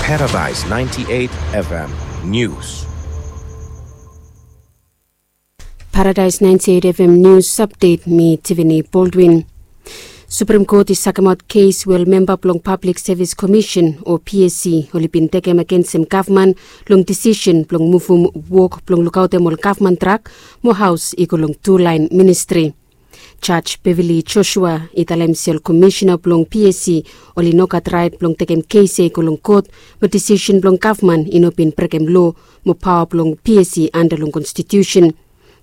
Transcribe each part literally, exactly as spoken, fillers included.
Paradise ninety-eight F M News. Paradise ninety-eight F M News Update, mi Tiffany Baldwin. Supreme Court i sakemaot kes we ol memba blong Public Service Commission o P S C oli bin tekem agensem gavman long disisen blong muvum wok blong lukaotem ol gavman trak mo haos i go long tu laen ministri. Jaj Beverly Joshua i talem se ol komisina blong P S C oli no gat raet blong tekem kes ya i go long kot, mo disisen blong gavman i no bin brekem loa mo paoa blong P S C anda long konstitusen.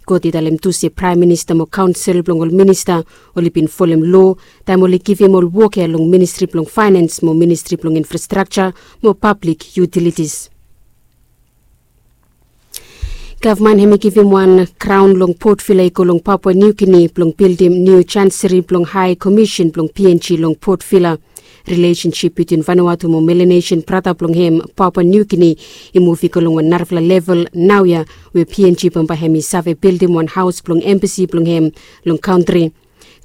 Kot i talem tu se praem minista mo kaonsel blong ol minista oli bin folem loa taem oli givim ol wok ya long ministri blong faenens mo ministri blong infrastrakja mo pablik yutilitis. Gavman hem i givim wan kraon long Port Vila i go long Papua New Guinea blong bildim niu janseri blong Hae Komisen blong P N G long Port Vila. Rilesensip bitwin Vanuatu mo Melanesian brata blong hem Papua New Guinea i muv i go long wan narafala level naoia, we P N G bambae hem i save bildim wan haos blong embasi blong hem long kantri.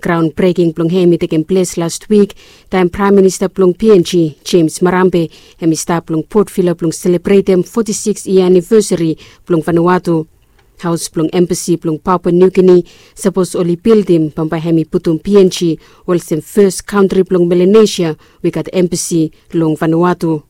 Graon breking blong hem i tekem ples las wik taem praem minista blong P N G James Marambe hem i stap long Port Vila blong selebretem foti sikis yia anivesari blong Vanuatu. Haos blong embasi blong Papua New Guinea sapos oli bildim bambae hem i putum P N G olsem fes kantri blong Melanesia we i gat embasi long Vanuatu.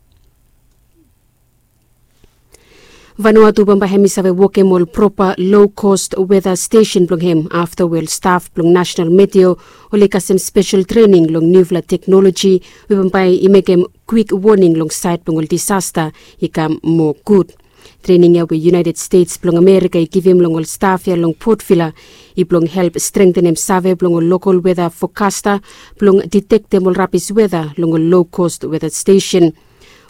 Vanuatu bambae hem i save wokem ol propa low cost weta stesen blong hem afta we ol staf blong National Meteo oli kasem spesel trening long niufala teknoloji we bambae i mekem kwik woning long saed blong ol disasta i kam moa gud. Trening ya we United States blong Amerika i givim long ol staf ya long Port Vila i blong help strengtenem save blong ol lokol weta fokasta blong ditektem ol rabis weta long ol low cost weta stesen.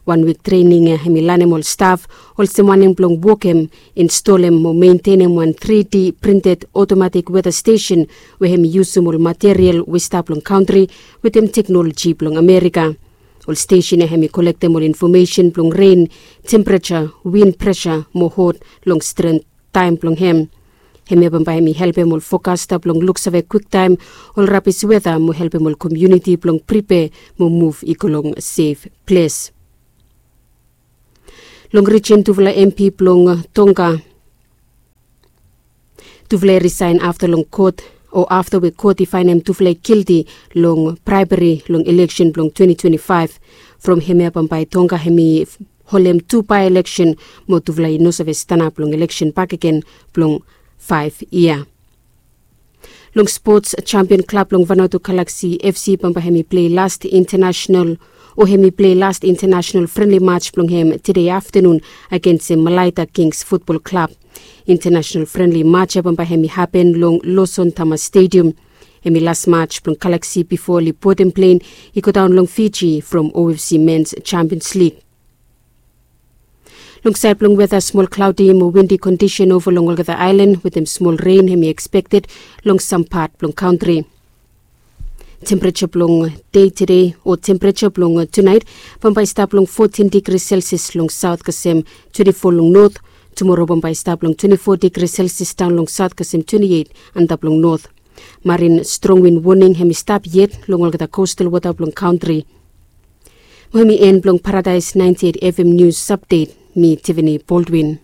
Wan wik trening ya hem i lanem ol staf olsem wanem blong wokem, instolem mo mentenem wan tri D printed otomatik weta stesen we hem i yusum ol material we i stap long kantri wetem teknoloji blong Amerika. Ol stesen ya hem i kolektem ol infomesen blong ren, tempereja, win presa mo hot long stren taem blong hem. Hemia bambae hem i helpem ol fokasta blong luksave kwiktaem ol rabis weta mo helpem ol komuniti blong pripea mo muv i go long sef ples. Long rijin tufala M P blong Tonga, tufala i risaen afta long kot o afta we kot i faenem tufala i gilti long braeberi long ileksen blong twenti twenti faef. From hemia bambae Tonga hem i holem tu bae-ileksen mo tufala i no save stanap long ileksen bakegen blong faef yia. Long spots, jampion klab blong Vanuatu Galaxy F C bambae hem i plei last intanasenal o hem i plei last intanasenal frenli maj blong hem tede aftanun agensem Malaita Kings Futbol Klab. Intanasenal frenli maj ya bambae hem i hapen long Lawson Thomas Stadium. Hem i las maj blong Galaxy bifo oli bodem plen i godaon long Fiji from O F C Mens Jampions Lig. Long saed blong weta, smol klaodi mo windi kondisen ova long olgeta aelan wetem smol ren hem i ekspekted long sam pat blong kantri. Tempereja blong dei tede o tempereja blong tunaet bambae i stap long fotin digri selsias long saot kasem twenti fo long not. Tumoro bambae i stap long twenti fo digri selsias daon long saot kasem twenti eit antap long not. Marin strong win woning hem i stap yet long olgeta kostal wota blong kantri. Mo hem i en blong Paradaes naenti eit F M nius apdet. Mi Tiffany Baldwin.